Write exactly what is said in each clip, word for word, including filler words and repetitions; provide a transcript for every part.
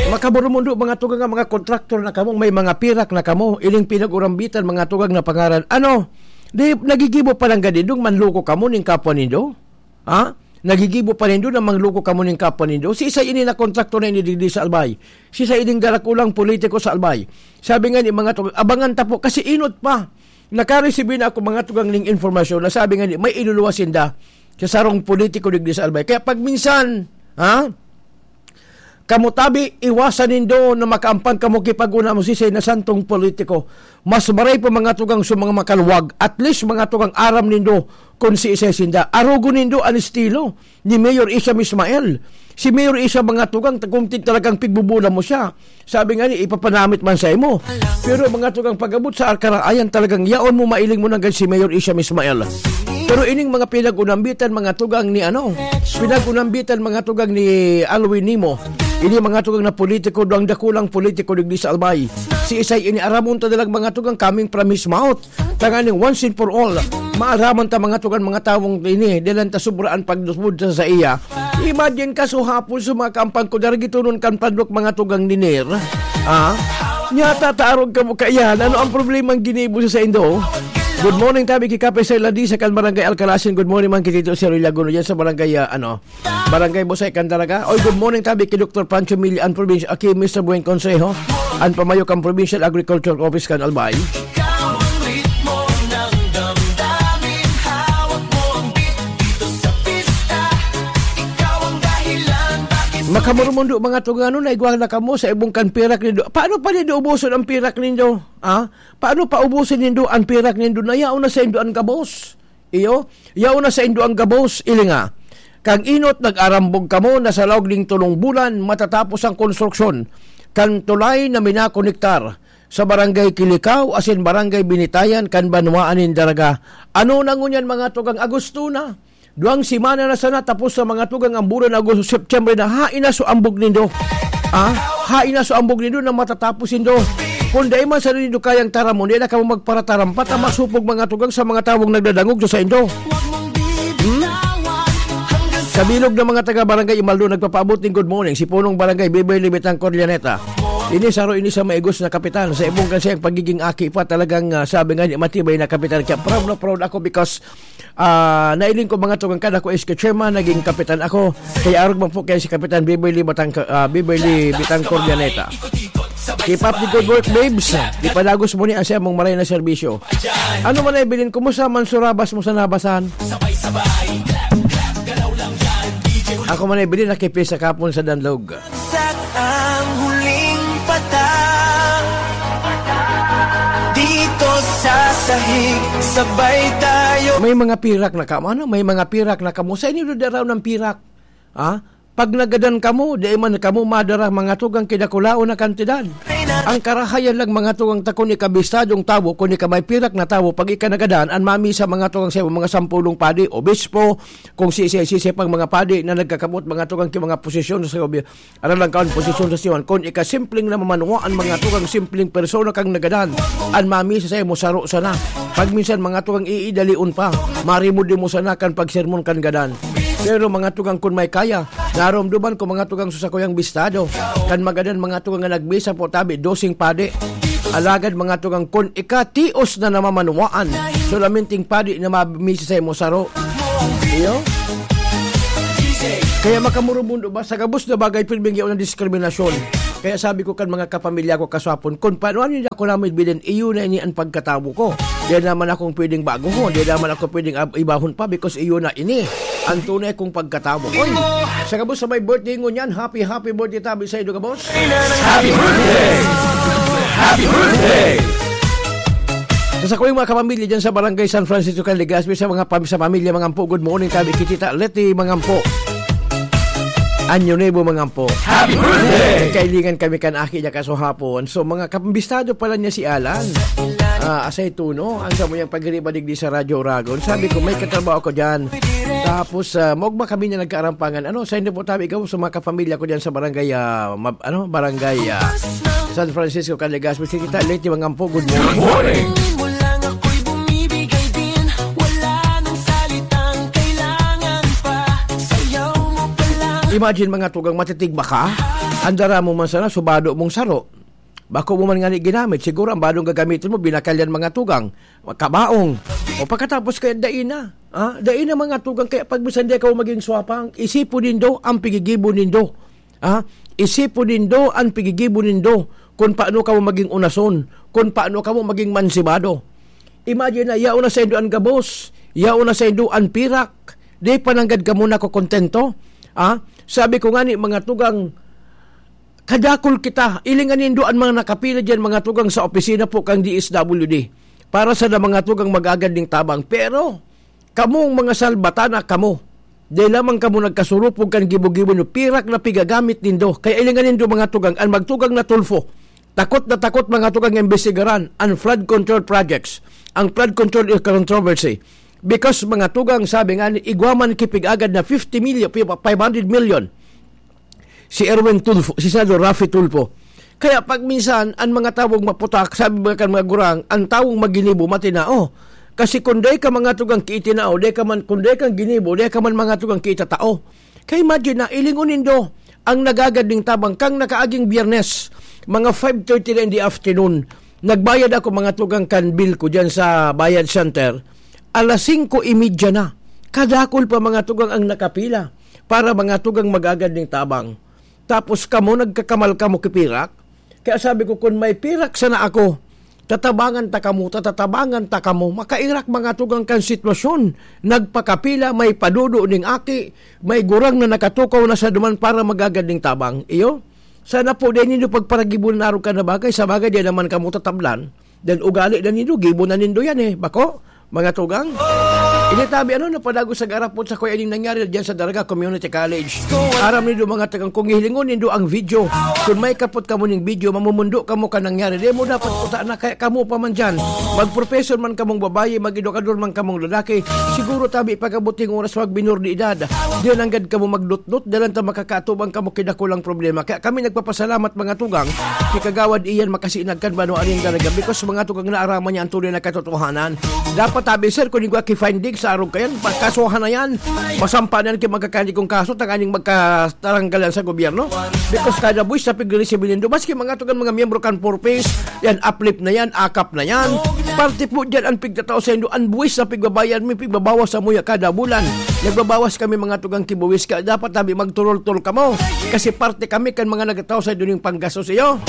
Makaburumundo, mga tugang, nga mga kontraktor na kamo, may mga pirak na kamo, ining pinag-urambitan, mga tugang, na pangaran. Ano? Di, nagigibo pa lang ganidong manloko kamo ning kapwa nindo? Ha? Nagigibo pa nindo na mangloko kamo ning kapwa nindo? Si isa ini na kontraktor na ini digdi sa Albay. Si isa ining darakulang politiko sa Albay. Sabi nga ni mga tugang, abangan ta po, kasi inot pa. Nakaresibi na ako, mga tugang, ning informasyon na sabi nga ni, may iluluwas sinda sa sarong politiko digdi sa Albay. Kaya pag minsan, ha? Kamo tabi, iwasan nindo na makaampan kamo ki pag-una mo sisay na santong politiko. Mas maray pa, mga tugang, sa mga makaluwag. At least, mga tugang, aram nindo kun siisay sinda. Arogon nindo an estilo ni Mayor Isham Ismael. Si Mayor Isham, mga tugang, ta-, kung ti-, talagang pigbubulan mo siya, sabi nga ni, ipapanamit man sa imo. Pero, mga tugang, pag-abot sa Arkaraayan, talagang yaon mo, mailing mo nanggad si Mayor Isham Ismael. Pero ining mga pinag-unambitan, mga tugang, ni ano, pinag-unambitan, mga tugang, ni Alwin Nimo. Ini, mga tugang, na politiko, duang dakulang politiko digdi sa Albay. Si Isay ini, aramon ta dalag, mga tugang, coming from his mouth. Tanganing once and for all, maaraman ta, mga tugang, mga tawong ini, dalan ta sobraan pagdusbod sa saiya. Imagine ka, so hapon, sa mga kampang ko, daragitunon kan padlok, mga tugang, ni Ner. Ah? Nyata, taarog ka mo kaiyan. Ano ang problema ang ginibo sa saindo? Good morning, tabi ki Kape sa Ladi, sa kan Barangay Alcalasin. Good morning, man, ki Tito Sir Ilaguno, yan sa barangay, ah, ano, Barangay Busay, Candaraga. Oy, good morning, tabi ki Doktor Pancho Mili, ang probinsya, aki Mister Buen Consejo, ang pamayok ang Provincial Agriculture Office kan Albay. Ikaw ang ritmo ng damdamin, hawak mo ang beat dito sa pista. Ikaw ang dahilan bakit Makamurumundo, mga tugang, ano, naigwa na kamo sa ibong kan pirak nindo. Paano pa nindo ubuson ang pirak nindo? Ah? Paano pa ubuson nindo ang pirak nindo na yaon na saindo an gabos? Iyo, yaon na saindo ang gabos, ilinga. Kang inot, nag-arambog kamo na sa laog ning tolong bulan matatapos ang konstruksyon kan tulay na minakonektar sa Barangay Kilikao asin Barangay Binitayan kan banwaan nin Daraga. Ano na ngunyan, mga tugang, Agosto na? Duwang semana na sana, tapos sa mga tugang ang bulan Agosto, September na, hain na so ambog nindo. Ah, hain na so ambog nindo na matatapos nindo. Kung dai man sa nindo kayang taramon, di na kamo magparatarampat ang masupog, mga tugang, sa mga tawong nagdadangog sa saindo. Hmm? Sa bilog ng mga taga Barangay Imaldo, nagpapaabot ning good morning si Punong Barangay Beverly Betancor Llaneta. Ini saro ini sa maigos na kapitan. Sa ibong kan siyang pagiging aki pa, talagang, ah, sabi nga ni, matibay na kapitan. Kaya proud na proud ako because, ah, nailing ko, mga tugang, kada ko is chairman, naging kapitan ako. Kaya arog man po kaya si Kapitan Beverly Batang-, ah, Beverly Betancor Llaneta. Keep up the good work, babes. Di padagos mo ni ang siyang maray na serbisyo. Ano man ay bilin, kumusta man surabas mo sa nabasan? Ako man ay bilin, nakipis sa kapon sa danlog. Bagsak ang huling patak. Dito sa sahig, sabay tayo. May mga pirak na kamo, ano? May mga pirak na kamo. Sa inyo daraw ng pirak. Ha? Pag nagadan kamo, di man kamo madara, mga tugang, kidakulaon na kantidad. Ang karahayan lang, mga tugang, ta kun ika bistadong tawo, kun ika may pirak na tawo, pag ika nagadan, an mamisa, mga tugang, sa mga sampulong padi, obispo, kung si, si, si, si pang mga padi na nagkakabot, mga tugang, ki mga posisyon sa gobyerno, aram lang kaon posisyon sa siwan. Kun ika simpleng namamanuan, mga tugang, simpleng persona kang nagadan, an mamisa sa imo saro sana. Pag minsan, mga tugang, iidalion pa, marimod mo sana kan pagsermon kan gadan. Pero, mga tugang, kun may kaya, naromdoman ko, mga tugang, sa sakuyang bistado, kan magadan, mga tugang, nga nagmisa po tabi, doseng padi. Alagad, mga tugang, kun ika tios na namamanuan, solamente padi na mamisa sa imo saro. Iyo? Kaya makamurubundo ba? Sa gabos na bagay, pirming yaon ang diskriminasyon. Kaya sabi ko kan mga kapamilya ko kaswapon, kun paano ano niya ako namin bilin, iyo na ini ang pagkatawo ko. Di naman akong pwedeng baguhon, di naman ako pwedeng ab-, ibahon pa because iyo na ini ang tunay kong pagkatawo. Oy, sa gabos sa may birthday ngunyan, happy, happy birthday tabi sa iyo, gabos. Happy birthday! Happy birthday! Sa sakuyang mga kapamilya dyan sa Barangay San Francisco, Legazpi, sa mga pam-, sa pamilya, mga ampo, good morning, tabi ki Tita Leti, mga ampo. Anyo Nuevo, mga ampo. Happy birthday! Kailingan kami kan aki niya kaso hapon. So, mga kapambistado pala niya si Alan. Ah, asay tuno, ang samuyang pagiriba digdi sa Radyo Oragon. Sabi ko, may katrabaho ko dyan. Tapos, ah, maugma kami niya nagkaarampangan. Ano, sa inyo po tabi, ikaw sa mga kapamilya ko dyan sa barangay, ah, mab-, ano, barangay, ah, San Francisco, Caligas. Mr. Tita Leti, mga ampo, good morning. Good morning. Imagine, mga tugang, matitigba ka. Andara mo man sana, subado mong saro. Bako mo man ngani ginamit, siguro ang badong gagamiton mo, binakalyan mga tugang, kabaong. O pagkatapos kaya, dai na. Ah, dai na mga tugang, kaya pag minsan di ka maging swapang, isipon nindo ang pigigibo nindo. Ah, isipon nindo ang pigigibo nindo kung paano ka mo maging unason, kung paano ka mo maging mansibado. Imagine na, yaon na sa indo ang gabos, yaon na sa indo ang pirak, di pa nanggad ka muna ko kontento. Ah, sabi ko nga ni mga tugang, kadakol kita, ilingan nindo an mga nakapila diyan, mga tugang sa opisina po kang D S W D, para sa na mga tugang mag-agad ning tabang. Pero, kamong mga salbatana, kamo, dai lamang kamo nagkasurupog kan gibo-gibo nindo, pirak na pigagamit nindo. Kaya ilingan nindo, mga tugang, an magtugang na Tulfo. Takot na takot, mga tugang, nga imbestigaran an flood control projects, ang flood control controversy. Because, mga tugang, sabi nga ni, igwa man kipig-agad na fifty million, five hundred million. Si Erwin Tulfo, si Senador Raffy Tulfo. Kaya pag minsan, ang mga tawong maputak, sabi ba kan mga gurang, ang tawong maginibo, matinao. Kasi kung dai ka, mga tugang, kiitinao, dai ka man, kung dai kang ginibo, dai ka man, mga tugang, kiitatao. Kaya imagine na, ilingon nindo, ang nagagad ning tabang kang nakaaging Biyernes, mga five thirty na in the afternoon, nagbayad ako, mga tugang, kan bill ko dyan sa Bayad Center. Alas singko y media na. Kadakol pa, mga tugang, ang nakapila para, mga tugang, magagad ning tabang. Tapos kamo, nagkakamal kamo ki pirak? Kaya sabi ko, kun may pirak sana ako, tatabangan ta kamo, tatatabangan ta kamo. Makairak, mga tugang, kan sitwasyon. Nagpakapila, may padudo ning aki, may gurang na nakatukaw na sa duman para magagad ning tabang. Iyo? Sana po, dai nindo pagparagibunan arog kan na bagay. Sa bagay, dai naman kamo tatablan. Then ugali na nindo, gibo na nindo yan eh. Bako, mga tugang. Ini tabi, ano, napadagos sa garapon sa kuya ining nangyari diyan sa Daraga Community College. Aram nindo, mga tugang, kung hihilingon nindo ang video, kung may kapot kamo ning video, mamumundo kamo ka nangyari. Di mo dapat puta na kaya kamo pa man dyan. Mag-professor man kamong babayi, mag-edukador man kamong lalaki. Siguro tabi pag-abot ning oras, mag minor de edad. Di nanggad kamo magdutdut, dalan ta makakaatubang kamo kidakulang problema. Kaya kami nagpapasalamat, mga tugang, ki Kagawad Ian Makasinag kan Banwa nin Daraga, because, mga tugang, naaraman niya ang tunay na katotohanan. Dapat tabi, sir, kung igwa ki finding sa arog kayan, pagkasuhan na yan. Masampa na yan ki magkakanig kong kaso, tanganing magkataranggalan sa gobyerno. Because kada buwis na pigre-resibo nindo, maski, mga tugang, mga miyembro kan Four Ps, yan, uplift na yan, akap na yan. Parte po dyan ang pigtatao sa indo, ang buwis na pigbabayad mo, pigbabawas sa muya kada bulan. Nagbabawas kami, mga tugang, ki buwis, kaya dapat tabi magturol-tol kamo. Kasi parte kami kan mga nagtatao sa indo ning panggastos iyo.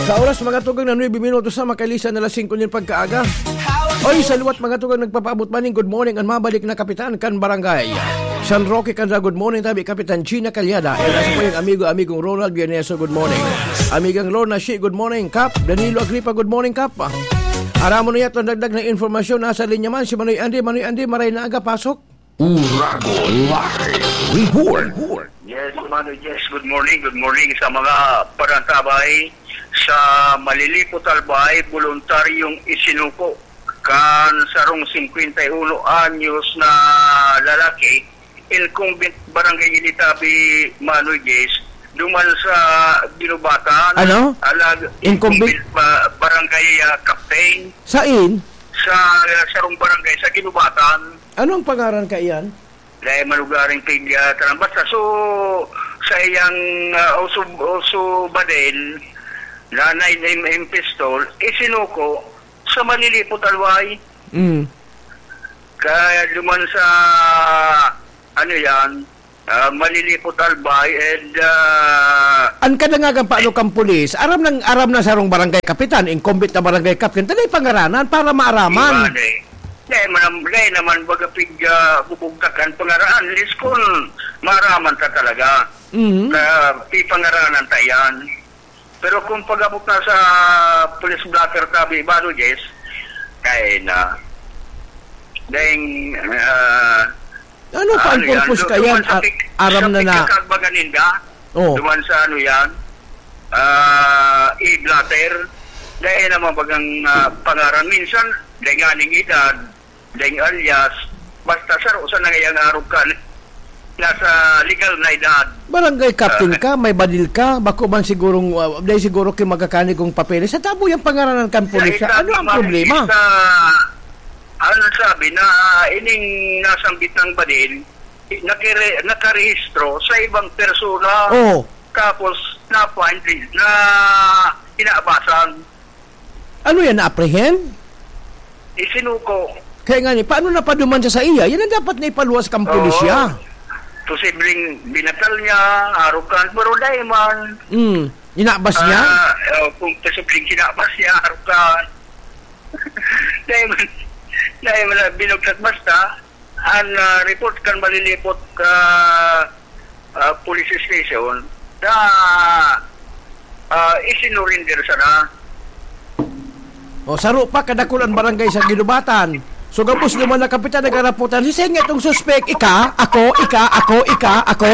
Sa oras, mga tugang, na nuebe minutos na, makalisan na alas singko nin pagkaaga. Oy, sa liwat, mga tugang, nagpapaabot maning good morning ang mabalik na kapitan kan barangay San Roque Candra. Good morning tabi, Kapitan Gina Calyada. And as po yung amigo, amigong Ronald Villaneso, good morning. Amigang Lorna Shi, good morning, Kap. Danilo Agripa, good morning, Kap. Aramon na yato ang dagdag na informasyon. Nasa linya man si Manoy Andy. Manoy Andy, maray na aga, pasok. Uragon Live Report. Yes, Manoy, yes. Good morning, good morning sa mga parantabay sa Malilipot, Albay, voluntaryong isinuko kan sarong singkwenta y uno anyos na lalaki, incumbent barangay Ilitabi, Manoy Jess, duman sa Ginubatan. Ano? Alag, Incumbent? Incumbent ba-, barangay, ah, captain. Sain? Sa, ah, sarong barangay sa Ginubatan. Ano ang pangaran ka iyan? Dahil malugaring pig, ah, tarang. Basta so, sa iyang, ah, uso, uso badil, nanay na im-, im pistol, isinuko sa Malilipot, Albay. Mm. Kaya duman sa, ano yan, ah, Malilipot, Albay, and, ah, An kadangagan paano kang pulis? Aram nang, aram na sarong barangay kapitan, incumbent na barangay captain. Tanay pangaranan para maaraman. Iwan eh. Dahil man, dahil naman baga pig, ah, bubugtakan pangaraan. At least kung maaraman ta talaga. Mhm. Kaya pipangaranan ta yan. Pero kung pag-abot na sa police blotter tabi, Baro Jess, kaya na. Dahil, ah, Ano pa ang ano yan? purpose Du-, ka yan? duman sa Ar-, pick-, aram sa na na. pickup kag maganinda, Oh. duman sa ano yan, ah, e-blotter. Dahil naman bagang, ah, pangaran. Minsan, dahil nga ning edad, dahil alias, basta saro sa nangayang arog ka, nasa legal na edad. Barangay captain Ah. ka, may badil ka, bako man sigurong, ah, dahil siguro ki magkakani kong papeles. Sa tabo yung pangaranan kan Sa pulis siya. edad Ano ang naman, problema? sa, ano sabi na, ah, ining nasambit ng badil, nakire-, nakarehistro sa ibang persona. Oh. Tapos, na-find, na kinabasan. Ano yan, na-apprehend? Isinuko. Kaya nga ni, paano napaduman siya sa iya? Yan ang dapat na ipaluwas kang Oo. pulisya. Posibleng binatal niya, arukan, pero dai man. Hmm. Inabas niya? Ah, oh, kung posibleng kinabas niya, arukan. Dai man, dai man na binugtak basta. An, ah, report kan Malilipot, ah, ah, police station na, ah, isinurinder sana. O, saro pa, kadakul an barangay sa Guinobatan. So, gabos naman na kapitan, nagkaraputan. Sisay nga itong suspek? Ika? Ako? Ika? Ako? Ika? Ako?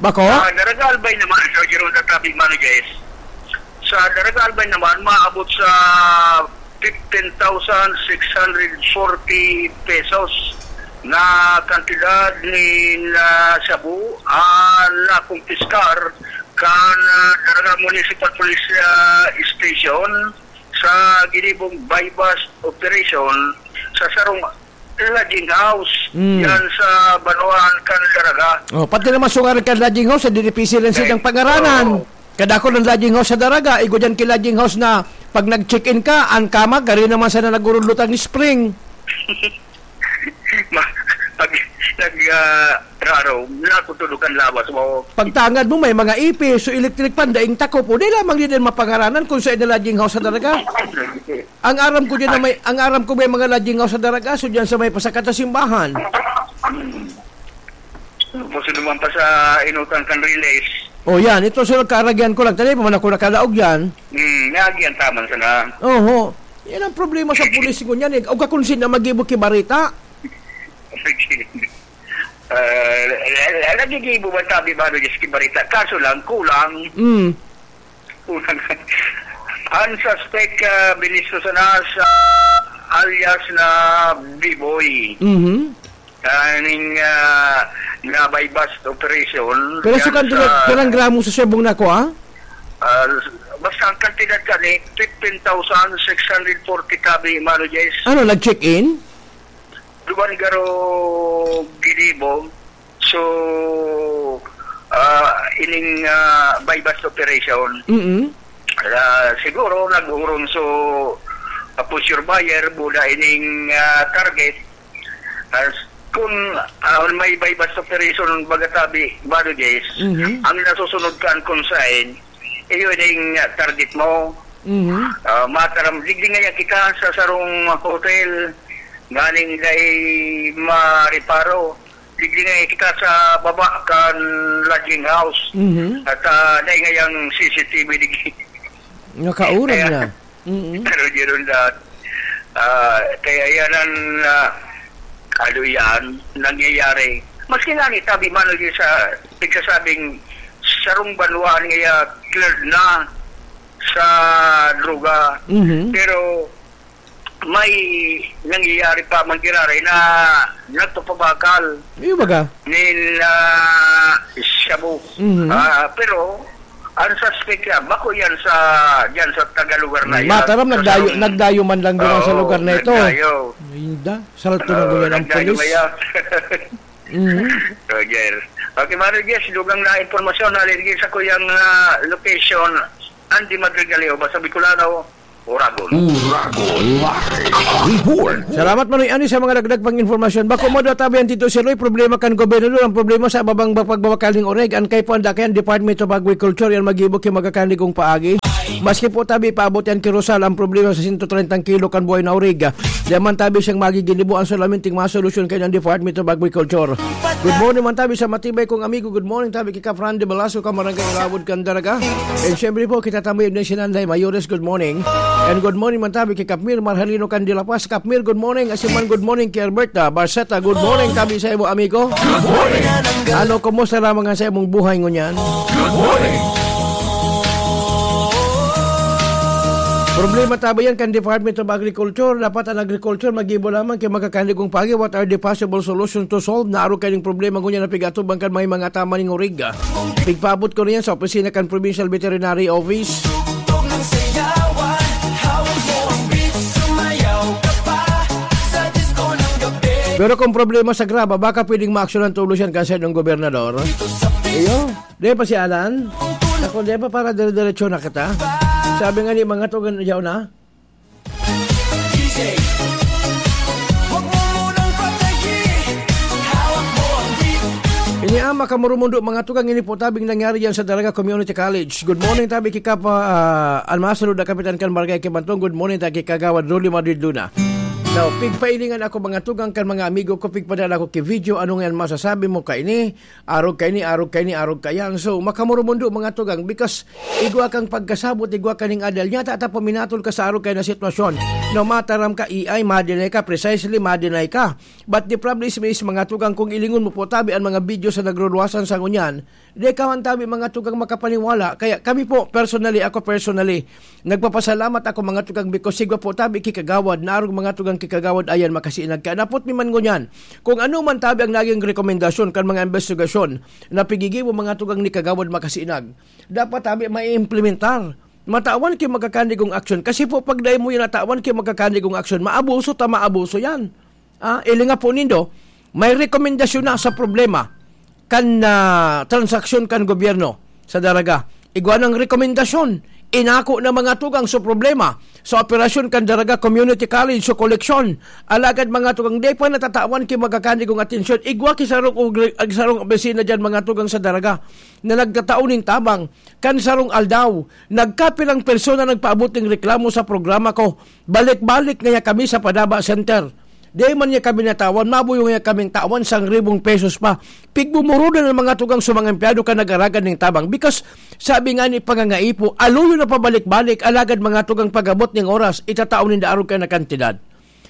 Bako? Sa Daraga Albay naman, Sir Jerome, tatabi, Mano Jess. Sa Daraga Albay naman, maabot sa fifteen thousand six hundred forty pesos na kantidad nin, ah, shabu ang nakumpiskar kan, ah, Daraga Municipal Police, ah, Station sa ginibong buy-bust operation sa sarong lodging house Mm. yan sa banwaan kan Daraga. Oh, pati naman sungaran kan lodging house, eh, di difícil ang Okay. silang pangaranan. Oo. Kadakul ang lodging house sa Daraga, igwa diyan ki lodging house na pag nag-check-in ka, ang kama, gari naman sana nagurudlot ang spring. Ma-, pag nag, ah, raro, nakutulokan lawas mo. Pagtangad mo, may mga ipis, so electric fan, daing takop, o di lamang din ang mapangaranan kung sa lodging house sa Daraga. Ang aram ko diyan na may, ang aram ko may mga lodging house sa Daraga, so diyan sa may pasakat na simbahan. Tapos naman pa sa inutan kan Riles. O yan, ito sa nagkaaragyan ko lang. Tanay pa man ako nakalaog yan. Hmm, naagyan taman sana. Oho. Yan ang problema sa pulis ngunyan eh. O kakunsin na mag-ibo ki barita. Ah, nagigibo man tabi ba, Diyos, ki barita? Kaso lang, kulang. Mm. Kulang. Ang suspect, ah, binisto sana sa alias na B-Boy. Mhm. Kaning, ah, na buy-bust operation. Pero yan sa kantidad, sa pirang gramo sa siyabong na ako, ah? Ah, basta ang kantidad ka ni fifteen thousand six hundred forty tabi, Mano Jess. Ano, nag-check-in? Duman garo ginibo. So, ah, ining, ah, buy-bust operation. Mm-mm. Ah, siguro nag-urong so, ah, pusher buyer, buda ining, ah, target. As, kung, ah, may buy-bust operation, baga tabi, Mano Jess, Mhm. ang nasusunod kan consign, iyo ining, ah, target mo. Mhm. Ah, mataram, digdi ngaya kita sa sarong hotel, nganing dai mareparo. Digdi ngaya kita sa baba kan lodging house. Mhm. At, ah, dai ngayang C C T V digdi. Nakauran Kaya, na. Mm-mm. Pero di ron lahat. Ah, kaya yan ang, ah, ano yan, nangyayari. Maski nga ni tabi man lagi sa nagsasabing sarong banwaan ngaya cleared na sa droga. Mhm. Pero may nangyayari pa man giraray na nagpapabakal Iyo baga? nin, ah, shabu. Mhm. Ah, pero ang suspect yan, bako yan sa, dyan sa tagalugar na yan. Mataram, Sa nagdayo, sarong nagdayo man lang duman sa Oo, lugar na ito. nagdayo. Ay, da, salto na Oo, duman ang nagdayo pulis. kaya. Mhm. Roger. Okay, Mano Jess, dugang na impormasyon, nalilingin sa kuyang, ah, location, Andy Madrigaleo, basta Bicolano, Uragon. Uragon Live Report. Salamat, Manoy Ani, sa mga dagdag pang impormasyon. Bako mo daw tabi ang Tito Siloy, problema kan gobernador, ang problema sa babang pagbabakal ning oreg, ang kay po ang dakayan Department of Agriculture, yan mag-ibo ki magkakandigong paagi. Maski po tabi paabot yan ki Rosal, ang problema sa sento trentang kilo kan buhay na oreg. Diyan man tabi siyang magiginibo ang solamente masolusyon kayo ng Department of Agriculture. Good morning man tabi sa matibay kong amigo. Good morning tabi kay Kap Randy Velasco, Kamarangay Ulawod, Candaraga. And syempre po, kita tabi din si Nanday Mayores. Good morning. And good morning man tabi kay Kapmir Marhalino Candilapas. Kapmir, good morning. Asin man, good morning kay Alberta Barceta. Good morning tabi sa imo, amigo. Good morning. Ano, kumusta lamang nga sa imong buhay ngunyan? Good morning. Problema tabi yan kan Department of Agriculture. Dapat ang agriculture mag-ibo lamang kay magkakandigong paagi. What are the possible solutions to solve na arog kaning problema ngunyan na pig-atubang kan may mga tama ning oreg? Pigpaabot ko niyan sa opisina kan Provincial Veterinary Office. Pero kung problema sa graba, baka pwedeng maaksyonan tulos yan kan saindong gobernador. Iyo, di pa si Alan? Ako, di pa para dire-diretso na kita? Sabi nga ni mga tugan, yaw na? Ini ang makamurumundo, mga tugang, ini po tabing nangyari yan sa Daraga Community College. Good morning, tabi kika pa, ah, an masunod na kapitan kan barangay Kibantong. Good morning, tabi kagawad Rolly Madrid Luna. Now, pigpailingan ako, mga tugang, kan mga amigo ko, pigpadala ko ki video, ano nga yan masasabi mo kaini? Arog kaini, arog kaini, arog kayan. So, makamurumundo, mga tugang, because igwa kang pagkasabot, igwa kaning adal. Nyata ta paminatol ka sa arog kayan na sitwasyon. No, mataram ka, E I, madinay ka, precisely, madinay ka. But the problem is, is, mga tugang, kung ilingon mo po tabi ang mga video sa nagruluwasan sa ngunyan, di ka man tabi, mga tugang, makapaniwala. Kaya kami po, personally, ako personally, nagpapasalamat ako, mga tugang, because sigwa po tabi kikagawad, na arog, mga tugang, kikagawad, ayan, makasinag ka. Napot mi man ngunyan, kung ano man tabi ang naging rekomendasyon kan mga investigasyon na pigigibo, mga tugang, ni kagawad makasinag, dapat tabi maiimplementar. Matawan ki magkakandigong aksyon. Kasi po, pag dai mo yan natawan ki magkakandigong aksyon, maabuso ta maabuso yan. Ah, ili nga po nindo, may rekomendasyon na sa problema kan, ah, transaksyon kan gobyerno sa Daraga. Igwa ng rekomendasyon, inako na mga tugang sa problema sa operasyon kan Daraga Community College sa koleksyon. Alagad mga tugang, di pa natatawan ki magkakandigong atensyon. Igwa ki sarong ugri-, ag sarong opisina dyan, mga tugang, sa Daraga na nagtatao nin tabang. Kan sarong aldaw, nagkapilang persona nagpaabot ning reklamo sa programa ko. Balik-balik ngaya kami sa Padaba Center. Di man niya kami natawan, mabuyo ngaya kaming tawan sang ribong pesos pa. Pigmumurudan ang mga tugang sa mga empleyado kan nag-aragad ning tabang. Because, sabi nga ni pangangaipo, aluyo na pabalik-balik, alagad mga tugang pag-abot ning oras, itatao ninda arog kan na kantidad.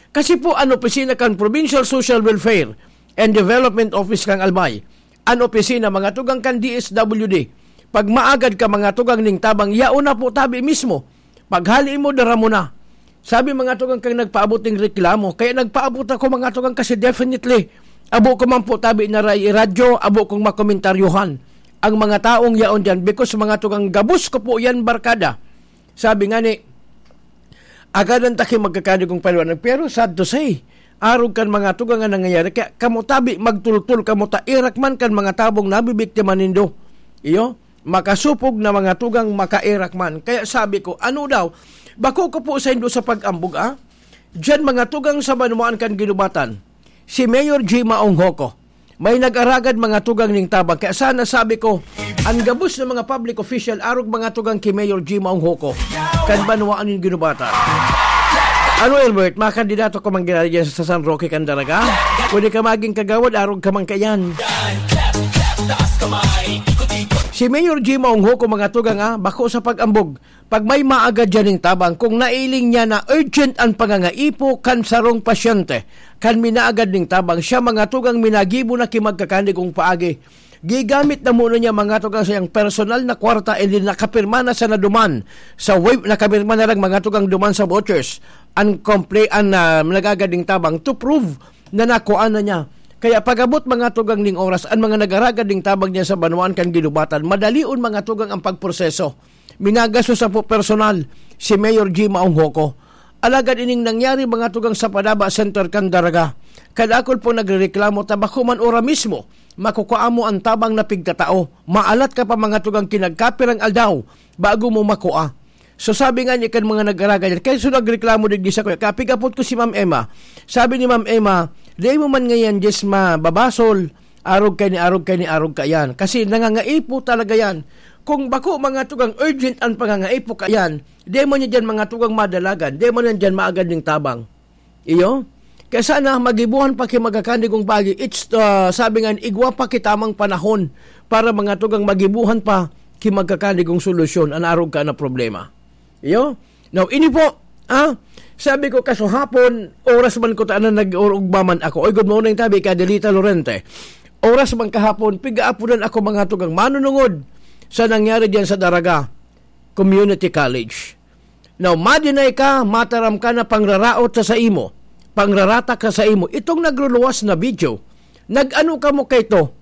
Kasi po, an opisina kan Provincial Social Welfare and Development Office kan Albay, an opisina, mga tugang kan D S W D. Pag maagad ka, mga tugang ning tabang, yaon na po tabi mismo. Paghali mo, dara mo na. Sabi, mga tugang, kang nagpaabot ning reklamo. Kaya nagpaabot ako, mga tugang, kasi definitely, abo ko man po tabi na ra-, radyo, abo kong makomentaryohan ang mga taong yaon dyan, because, mga tugang, gabos ko po yan, barkada. Sabi nga ni, agadan ta ki magkakandigong paliwanag. Pero sad to say, arog kan mga tugang nga nangyayari, kaya kamo tabi, magtultol kamo ta, irak man kan mga tabong nabibiktima nindo. Iyo, makasupog na mga tugang makairak man. Kaya sabi ko, ano daw, bako ko po saindo sa pag-ambog, ah? Diyan mga tugang sa banwaan kan ginubatan, si Mayor G Maong Hoko. May nag-aragad mga tugang ning tabang. Kaya sana sabi ko, ang gabos ng mga public official, arog mga tugang ki Mayor G Maong Hoko, kan banwaan nin ginubatan. Ano, Albert, mga kandidato ka man ginari dyan sa San Roque, Candaraga? Pwede ka maging kagawad, arog ka man kayan. Si Mayor G Maong Hoko, mga tugang, ah, bako sa pag-ambog. Pag may maagad dyan ning tabang, kung nailing niya na urgent ang pangangaipo kan sarong pasyente, kan minaagad ning tabang, siya mga tugang minagibo na ki magkakandigong paagi. Gigamit na muna niya mga tugang sa iyang personal na kwarta, and then nakapirma na sa naduman sa web, nakapirma na lang mga tugang duman sa vouchers. Ang complain, ang, ah, nagagad ning tabang to prove na nakuha na niya. Kaya pag-abot mga tugang ning oras, ang mga nagaragad ning tabang niya sa banwaan kan ginubatan, madalion mga tugang ang pagproseso. Minagastos sa po personal si Mayor G Maong Hoko. Alagad ining nangyari mga tugang sa Padaba Center kan Daraga. Kadakol po nagrereklamo ta bako man ora mismo makukua mo ang tabang na pigtatao. Maalat ka pa mga tugang kinagkapirang aldaw bago mo makua. So sabi nga ni kan mga nag-araga dyan, kaya so nagreklamo digdi sa kuya, kapigapot ko si Ma'am Emma. Sabi ni Ma'am Emma, "Di mo man ngayon, Diyos, mababasol." Arog kay ni, arog kay ni, arog kayan. Kasi nangangaipo talaga yan. Kung bako mga tugang urgent ang pangangaipo kayan, di man niya dyan mga tugang madalagan, di man yan dyan maagad ning tabang. Iyo? Kaya sana magibuhan pa ki magkakandigong pagi. It's, uh, sabi nga, igwa pa ki tamang panahon para mga tugang magibuhan pa ki magkakandigong solusyon an arog ka na problema. Iyo? Now, ini po, ah, sabi ko, kasuhapon, oras man ko ta na nag-urugba man ako. Oy, good morning, tabi ka, Delita Lorente. Oras man kahapon, pigaapunan ako mga tugang manunungod sa nangyari diyan sa Daraga Community College. Now, madinay ka, mataram ka na pangraraot sa saimo, pangraratak sa saimo. Itong nagruluwas na video, nag-ano kamo kayto?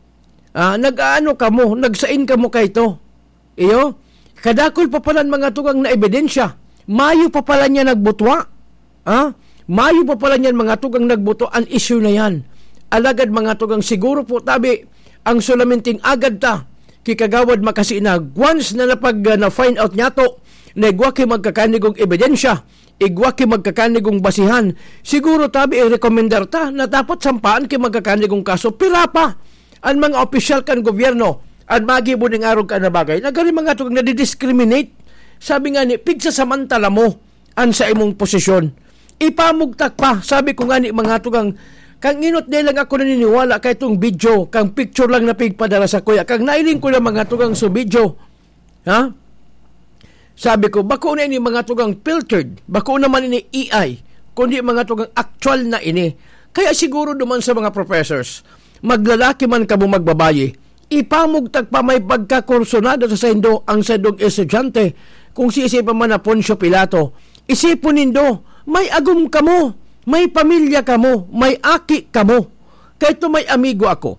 Ah, nag-aano kamo? Nagsain kamo kayto? Iyo, kadakol pa palan mga tugang na ebidensya. Mayo pa pala niya nagbutwa. Ha? Mayo pa pala niyan mga tugang nagbutwa an isyu na yan. Alagad mga tugang, siguro po tabi, ang sulaminting agad ta, Ki Kagawad Makasina, once na napag, ah, na-find out niyato na igwa ki magkakanigong ebidensya, igwa ki magkakanigong basihan, siguro tabi i-recommendar ta na dapat sampaan ki magkakanigong kaso. Pira pa an mga opisyal kan gobyerno an magibo ning arog kan na bagay. Nagari mga tugang nadidiscriminate. Sabi nga ni, pigsasamantala mo an sa imong posisyon. Ipamugtak pa, sabi ko nga ni mga tugang, kang inot di lang ako naniniwala kay itong video, kang picture lang na pigpadala sa kuya. Kang nailing ko na mga tugang sa video, ha? Sabi ko, bako na ini mga tugang filtered, bako naman ini A I, kundi mga tugang actual na ini. Kaya siguro duman sa mga professors, maglalaki man kamo magbabayi, ipamugtak pa may pagkakursunada sa saindo ang saindong estudyante, kung siisay pa man na Poncio Pilato. Isipon nindo, may agom kamo, may pamilya kamo, may aki kamo. Kaya ito may amigo ako.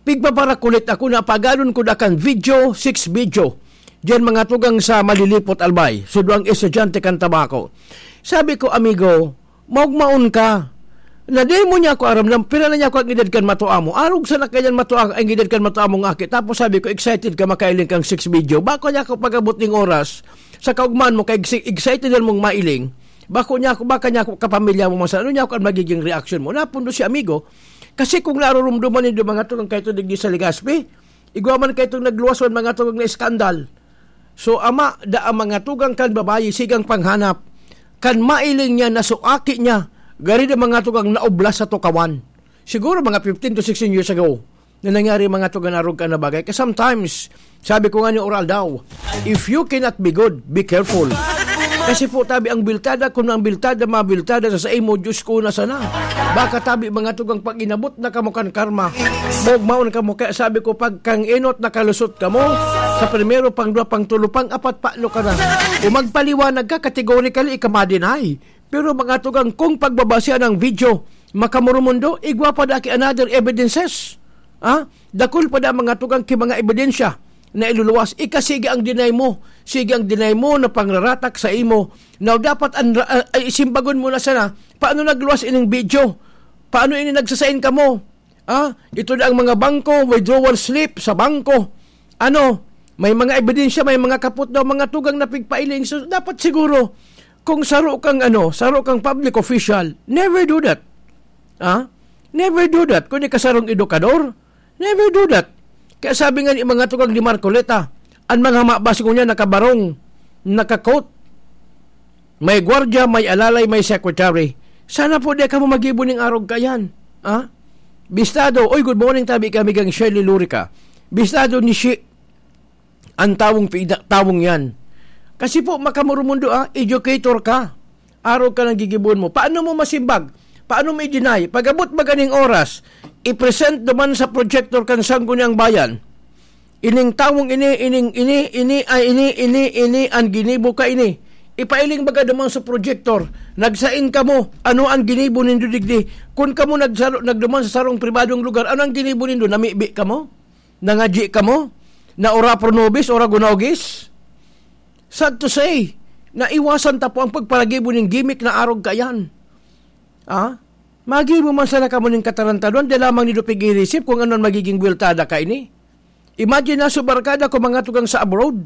Pigpaparakulit ako na pagadon ko dakan video, six video. Diyan mga tugang sa Malilipot, Albay, sudwang estudyante kan tabako. Sabi ko, amigo, maugmaon ka. Na di mo niya ako aram lang, pira na niya ako ang edad kan matua mo. Arog sa nakayan matua ang edad kan matua mong aki. Tapos sabi ko, excited ka, makailing kang six video. Bako niya ako pag-abot ning oras, sa kaugman mo, kay exi-, excited yan mong mailing. Bako niya ako, baka niya ako kapamilya mo, masa, ano niya ako ang magiging reaction mo? Napundo si amigo. Kasi kung narurumduman nindo mga tugang kaito digdi sa Legazpi, igwa man kaitong nagluwas man mga tugang na iskandal. So, ama, da ang mga tugang kan babayi, sigang panghanap. Kan mailing niya, nasuaki niya, gari na mga tugang naublas sa tukawan. Siguro mga fifteen to sixteen years ago, na nangyari mga tugang arog ka na bagay. Kasi sometimes, sabi ko nga ni oral daw, if you cannot be good, be careful. Kasi po tabi ang biltada, kung ang biltada, mabiltada sa saimo, Diyos ko na sana. Baka tabi mga tugang pag inabot na kamo kan karma, mogmaon kamo. Kaya sabi ko, pag kang inot nakalusot kamo, sa primero, pang dua, pang tulo, pang apat, paano ka na? Kung magpaliwanag ka, categorically, ika ma-deny. Pero mga tugang, kung pagbabasihan ang video, makamurumundo, igwa pa da ki another evidences. Ah? Dakul pa da mga tugang ki mga ebidensya na iluluwas. Ika sige ang deny mo. Sige ang deny mo na pangraratak sa imo. Now, dapat an, ah, ay, isimbagon mo na sana. Paano nagluwas ining video? Paano ini nagsasain kamo? Ah, ito na ang mga bangko, withdrawal slip sa bangko. Ano, may mga ebidensya, may mga kapot daw, mga tugang na pigpailing. So, dapat siguro, kung saro kang, ano, saro kang public official, never do that. Ah? Never do that. Kung di ka sarong edukador, never do that. Kaya sabi nga ni mga tugang ni Marcoleta, ang mga mabas ko niya nakabarong, naka-coat, may gwardiya, may alalay, may secretary. Sana po di kamo magibo ning arog kayan. Ha? Bistado, oy, good morning, tabi kami kang Shirley Lurica. Bistado ni Shi, ang tawong pida, tawong yan. Kasi po, makamurumundo, ah, educator ka. Arog ka ng gigibon mo. Paano mo masimbag? Paano mo i-deny? Pag-abot ba ganing oras, i-present naman sa projector kan Sangguniang Bayan. Ining tawong ini, ining ini, ini, ay ini, ini, ini, ang ginibo ka ini. Ipailing baga duman sa projector. Nagsain kamo, ano ang ginibo nindo digdi? Kun kamo nagsaro, nagduman sa sarong pribadong lugar, ano ang ginibo nindo? Namibi kamo? Nangadyi kamo? Na ora pronobis, ora gunogis? Sad to say, naiwasan ta po ang pagparagibo ning gimik na arog kayan. Ah? Magibo man sana kamo ning katarantadon, di lamang nindo pig-irisip kung ano ang magiging buweltada kaini. Imagine na, sa barkada ko, mga tugang sa abroad,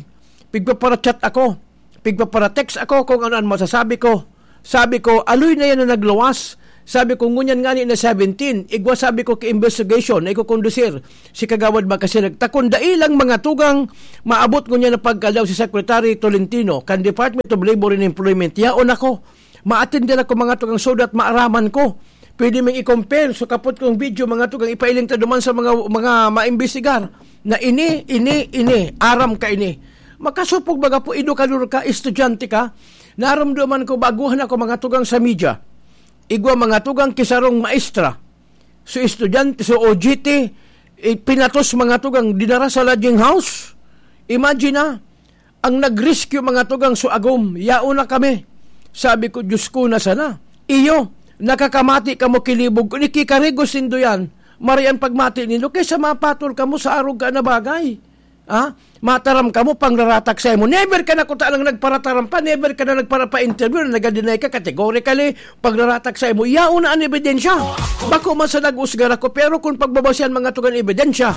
pigpapara-chat ako, pigpapara-text ako kung ano ang masasabi ko. Sabi ko, "Aloy na yan na nagluwas." Sabi ko, "Ngunyan ngani na seventeen, igwa," sabi ko, "ki investigation na ikokondusir si Kagawad Magkasi." Nagtakon, dai lang mga tugang, maabot ngunyan na pagkalaw si Secretary Tolentino kan Department of Labor and Employment. Yaon ako. Maattend din ako mga tugang so that maaraman ko. Pwede ming i-compare. So, kapot kong video, mga tugang, ipailing ta duman sa mga, mga maimbestigar na ini, ini, ini, aram ka ini. Makasupog baga po, edukador ka, estudyante ka, naramdaman ko, baguhan ako mga tugang sa media. Igwa mga tugang kisarong maestra. So, estudyante, so O G T, eh, pinatos mga tugang, dinara sa lodging house. Imagine na, ang nag-rescue mga tugang so agom, yaon na kami. Sabi ko, "Diyos ko, na sana?" Iyo, nakakamati kamo kilibog ko, nikikarigos nindo yan. Marian pagmati nindo, kaysa mapatol kamo sa arog ka na bagay. Ha? Mataram kamo, pangraratak sa imo. Never ka na kuta nang nagparataram pa, never ka na nagpara-, pa-interview na naga-deny ka categorically, pangraratak sa imo. Yaon na an ebidensya. Bako man sa nag-usgar ako, pero kung pagbabasihan mga tugang ebidensya,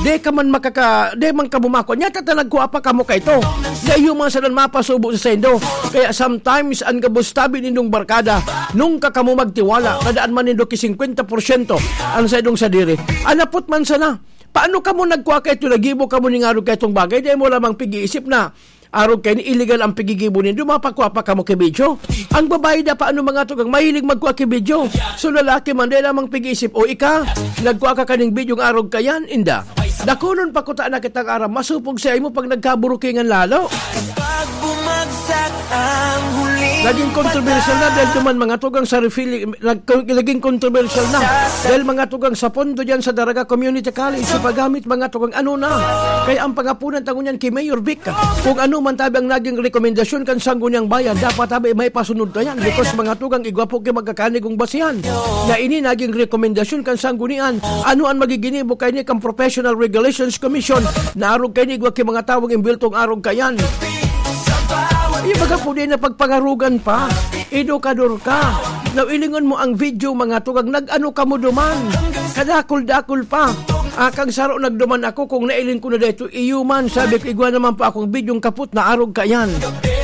di ka man makaka-, di man ka bumakwa. Nya, tatanag ko apa kamo kaito. Di iyo man sa nan mapasubo sa saindo. Kaya sometimes, an gabos tabi nindong barkada, nung ka kamo magtiwala, kadaan man nindo ki singkwenta porsyento an saindong sadiri. Anapot man sana, paano kamo nagkua kaito, nagibo kamo ning arog kaitong bagay? Di mo lamang pig-iisip na arog kaini illegal ang pigigibo nindo, mapakua pa kamo ki video. Ang babae da paano mga tugang mahilig magkua ki video. So lalaki man, di lamang pig-iisip, "O ika, nagkua ka kaning video ng arog kayan, inda." Dakulon pa kuta na kitang aram, masupog sa imo pag nagkaburukingan lalo. Pag bumagsak ang huling Naging kontrobersyal na dahil duman mga tugang sa refill, nag-, naging kontrobersyal na dahil mga tugang sa pondo dyan sa Daraga Community College, sa paggamit mga tugang ano na. Kaya ang pangapunan tango niyan kay Mayor Vic, kung ano man tabi ang naging rekomendasyon kan Sangguniang Bayan, dapat tabi may pasunod ta yan because mga tugang igwa po kay magkakanig kong basihan na ini naging rekomendasyon kan Sanggunian. Ano ang magiginibo kaini kan Professional Regulations Commission na arog kaini igwa ki mga tawong imbiltong arog kayan? Yung baga po din na pagpangarugan pa, edukador ka. Now, ilingon mo ang video, mga tugang, nag-ano ka mo duman? Kadakol-dakol pa. Ah, kang saro nagduman ako, kung nailing ko na dito, iyo man, sabi ko, igwa naman pa akong bidyong kapot na arog kayan.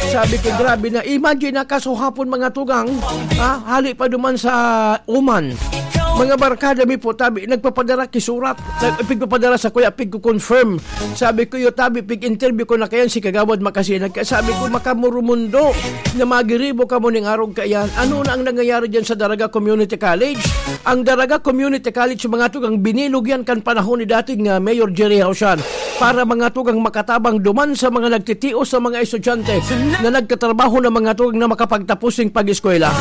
Sabi ko, grabe na. Imagine na kasuhapon, mga tugang, ha? Hali pa duman sa Oman. Mga barkada mi po, tabi, nagpapadara kisurat. Nag-, pigpapadara sa kuya, pigko-confirm. Sabi ko, "Yo, tabi, pig-interview ko na kayan si Kagawad Makasinag." Kaya sabi ko, "Makamurumundo na magiribo kamo ning arog kayan." Ano na ang nangyayari dyan sa Daraga Community College? Ang Daraga Community College, mga tugang, binilog yan kan panahon ni dating, ah, Mayor Jerry Hausan para mga tugang makatabang duman sa mga nagtitios sa mga estudyante na nagtatrabaho na mga tugang na makapagtapos ng pag-eskwela.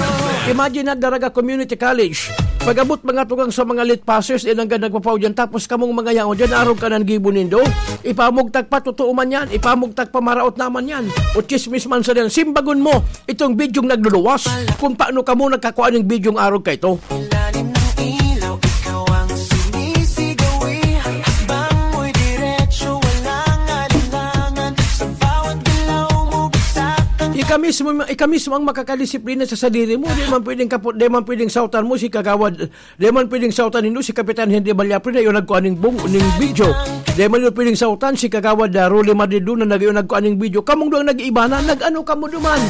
Imagine na Daraga Community College, pag-abot mga tugang sa mga late passers, eh, nanggad nagpapaw dyan, tapos kamong mga yaon dyan, arog ka nang gibo nindo. Ipamugtak pa, totoo man yan. Ipamugtak pa, maraot naman yan. O chismis man sa yan. Simbagon mo itong bidyong nagluluwas kung paano kamo nagkakua ning bidyong arog kaito. Lalim ng ilaw, ikaw ang sumisigaw, eh. Hakbang mo'y diretso, walang alinlangan. Sa bawat galaw mo, bagsakan. Ika mismo, ika mismo ang makakadisiplina sa sadiri mo. Di man pwedeng kapo-, di man pwedeng sautan mo si Kagawad, di man pwedeng sautan nindo si Kapitan Henry Balyapre na iyo nagkuha ning bung-, ning video. Di man nindo pwedeng sautan si Kagawad, ah, Rolly Madridona na iyo nagkuha ning video. Kamong duwang nag-iiba na, nag-ano kamo duman?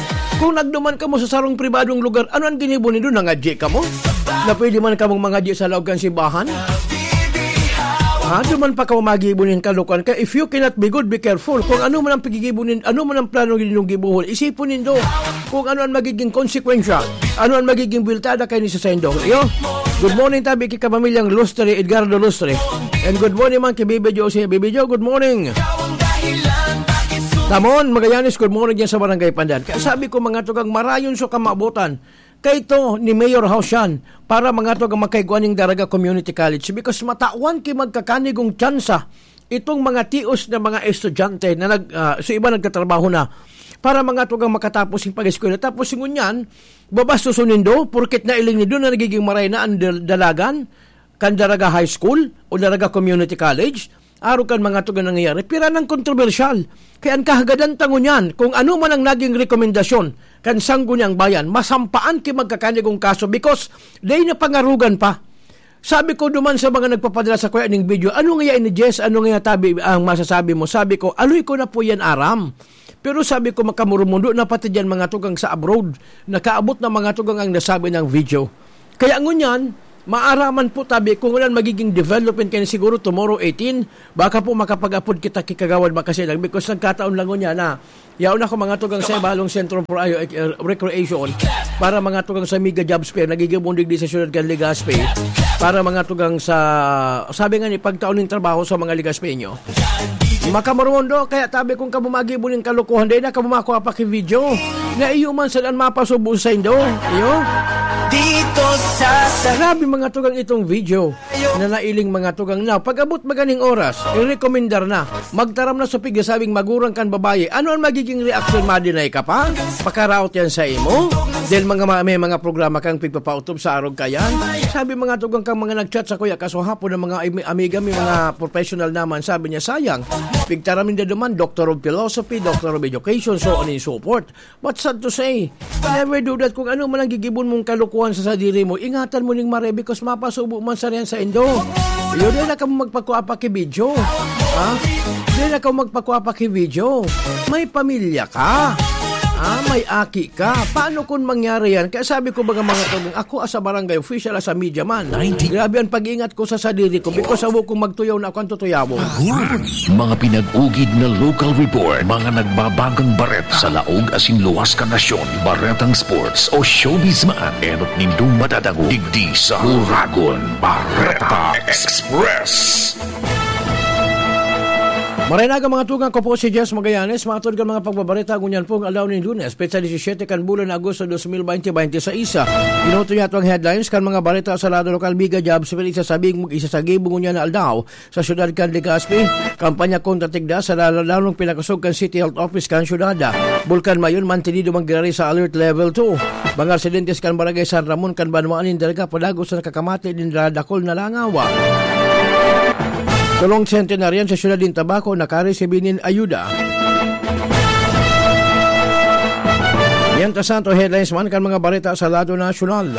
Kung nagduman kamo sa sarong pribadong lugar, ano ang ginibo nindo? Nangadyi kamo? Na pwede man kamong mangadyi sa laog kan simbahan? Ha? Duman pa kamo magibo nin kalokohan. Kaya if you cannot be good, be careful. Kung ano man ang pigigibo nin-, ano man ang plano ninyong gibohon, isipon nindo kung ano ang magiging konsekwensya, ano ang magiging biltada kaini sa saindo. Iyo? Good morning, tabi ki kapamilyang Lustre, Edgardo Lustre. And good morning man ki Bibi Jo, si Bibi Jo, good morning. Tamon, Magallanes, good morning dyan sa Barangay Pandan. Kaya sabi ko, mga tugang, marayon sa kamabutan. Kaito ni Mayor Hausan para mga tugang makaigwa ning Daraga Community College because matawan ki magkakanigong tsansa itong mga tios na mga estudyante na nag-, ah, sa iba nagtatrabaho na para mga tugang makatapos yung pag-eskwela. Tapos ngunyan, babastuson nindo, porket nailing nindo na nagiging maray na ang dal-, dalagan kan Daraga High School o Daraga Community College, arog kan mga tugang nangyayari, pira nang kontrobersyal. Kaya ang kahagadan tango niyan, kung ano man ang naging rekomendasyon kan Sangguniang Bayan, masampaan ki magkakanigong kaso because dai na pangarugan pa. Sabi ko duman sa mga nagpapadala sa kuya ning video, "Ano nga ini, Jess? Ano nga tabi ang masasabi mo?" Sabi ko, "Aloy ko na po yan aram." Pero sabi ko, "Makamurumundo na pati dyan mga tugang sa abroad. Nakaabot na mga tugang ang nasabi ng video." Kaya ngunyan, maaraman po tabi kung ulan magiging development kayo siguro tomorrow eighteen, baka po makapag-apod kita ki Kagawad Makasinag because nagkataon lang ngunyan na yaon ako mga tugang sa Ibalong Sentro for Ayo, eh, Recreation para mga tugang sa Mega Jobs Fair, nagigibundig di sa siyudad kan Legazpi para mga tugang sa, sabi nga ni, pagtaon ng trabaho sa mga Legazpeño. Makamorondo, kaya tabi kung kamo magibo ning kalokohan, dai na kamo makuha pa ki video. Na iyo man saan mapasubo sa indo. Iyo? Dito sa sa- Grabe mga tugang itong video na nailing mga tugang na. Pag-abot maganing oras, irekomendar na. Magtaram na sa pigasabing magurang kan babae. Ano ang magiging reaksyon? Madinay ka pa? Pakaraot yan sa imo? Dahil mga ma-, may mga programa kang pigpapautob sa arog kayan. Sabi mga tugang kang mga nag-chat sa kuya, kaso hapon ng mga ami-, amiga, may mga professional naman. Sabi niya, sayang. Pigtaram ninda duman, Doctor of Philosophy, Doctor of Education, so on and so forth. But sad to say, never do that. Kung ano man ang gigibon mong kalokohan sa sadiri mo, ingatan mo ning mare because mapasubo man sa riyan sa indo. Yun, di na ka magpakuha pa ki video. Ha? Di na ka magpakuha pa ki video. May pamilya ka. Ha? May aki ka. Paano kung mangyari yan? Kaya sabi ko, mga, mga tugang, ako as a barangay official, as a media man, ninety. Grabe ang pag-iingat ko sa sadiri ko because ako kung magtuyaw na ako ang tutuyawon. Mga pinag-ugid na local report, mga nagbabagong bareta sa laog asin luwas kan nasyon, baretang sports o showbiz man, enot nindong madadangog digdi sa Uragon Bareta Express. Maray na aga, mga tugang, ko po si Jess Magallanes. Matod kan mga pagbabareta ngunyan pong aldaw nin Lunes, petsa disisete kan bulan na Agosto dos mil bente bente seis. Ginuto niya itong headlines kan mga bareta sa lado lokal. Mega jobs fair isasabing mag-isa sa gibo ngunyan na aldaw sa siyudad kan Legazpi. Kampanya kontra tigda sa lalo-, lalong pinakosog kan City Health Office kan siyudad. Bulkan Mayon mantenido manggirari sa Alert Level two. Mga residentes kan Barangay San Ramon kan Banwaan nin Dalaga padagos na nakakamate nin dakul na langaw. Tolong sentenaryan sa siyudad nin Tabaco nakaresibi nin ayuda. Mientras tanto, headlines man kan mga bareta sa lado nasyonal.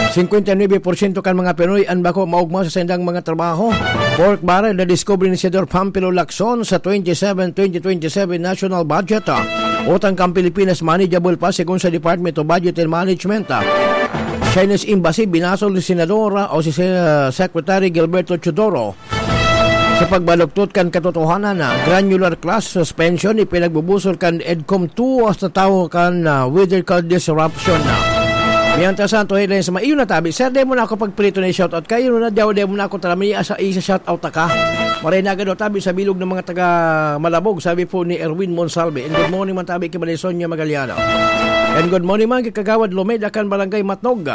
Singkwenta y nuebe porsyento kan mga Pinoy an bako maogma sa saindang mga trabaho. Pork barrel na diskubre ni Senador Pampilo Lacson sa twenty-seven, twenty twenty-seven national budget. Utang kan Pilipinas manageable pa, segun sa Department of Budget and Management. Chinese Embassy binasol ni Senador o si Se-, Secretary Gilberto Teodoro. Sa pagbaluktot kan katotohanan na granular class suspension, ipinagbubusol kan EDCOM two sa tawo kan, ah, weather called disruption na. Mientras tanto, headlines, maiyo na tabi. Sir, dai mo na ako pagpirito na i-shoutout. Kayo na, dai, dai mo na ako tarami, asa, isa-shoutout ka. Maray na agad, tabi sa bilog ng mga taga Malabog, sabi po ni Erwin Monsalve. And good morning man tabi kay Maria Sonia Magaliano. And good morning man kay Kagawad Lomeda kan Barangay Matnog.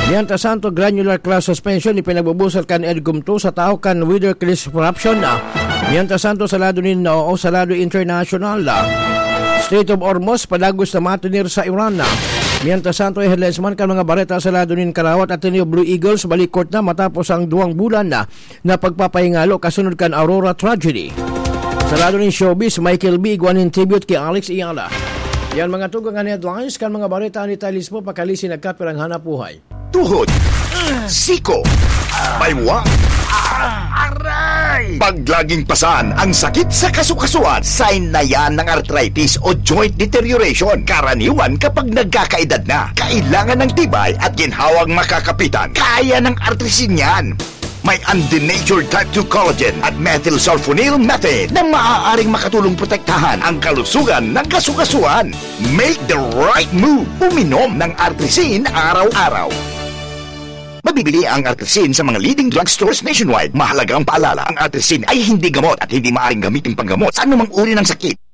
Mientras tanto, granular class suspension ipinagbubusol kan EDCOM two sa tawo kan weather crash corruption na. Mientras tanto, sa lado nin, o sa lado international na, Strait of Hormuz, padagos na matunir sa Iran na. Mientras tanto, headlines man kan mga bareta sa lado nin Karawat, Ateneo Blue Eagles, balikot na matapos ang duwang bulan na, na pagpapahingalo kasunod kan Aurora tragedy. Sa lado nin showbiz, Michael B igwa nin tribute ki Alex Eala. Yan mga tugang an headlines kan mga bareta ni Tilis po, pakalisin nagkapirang hanap buhay. Tuhod, siko, baywa, aray! Pag laging pasan ang sakit sa kasukasuan, sign na yan ng arthritis o joint deterioration. Karaniwan kapag nagkakaedad na, kailangan ng tibay at ginhawang makakapitan. Kaya ng Artrisin yan. May undenatured type two collagen at methylsulfonyl methane na maaaring makatulong protektahan ang kalusugan ng kasukasuan. Make the right move. Uminom ng Artrisin araw-araw. Mabibili ang Artrisin sa mga leading drugstores nationwide. Mahalagang paalala, ang Artrisin ay hindi gamot at hindi maaaring gamitin panggamot sa anumang uri ng sakit.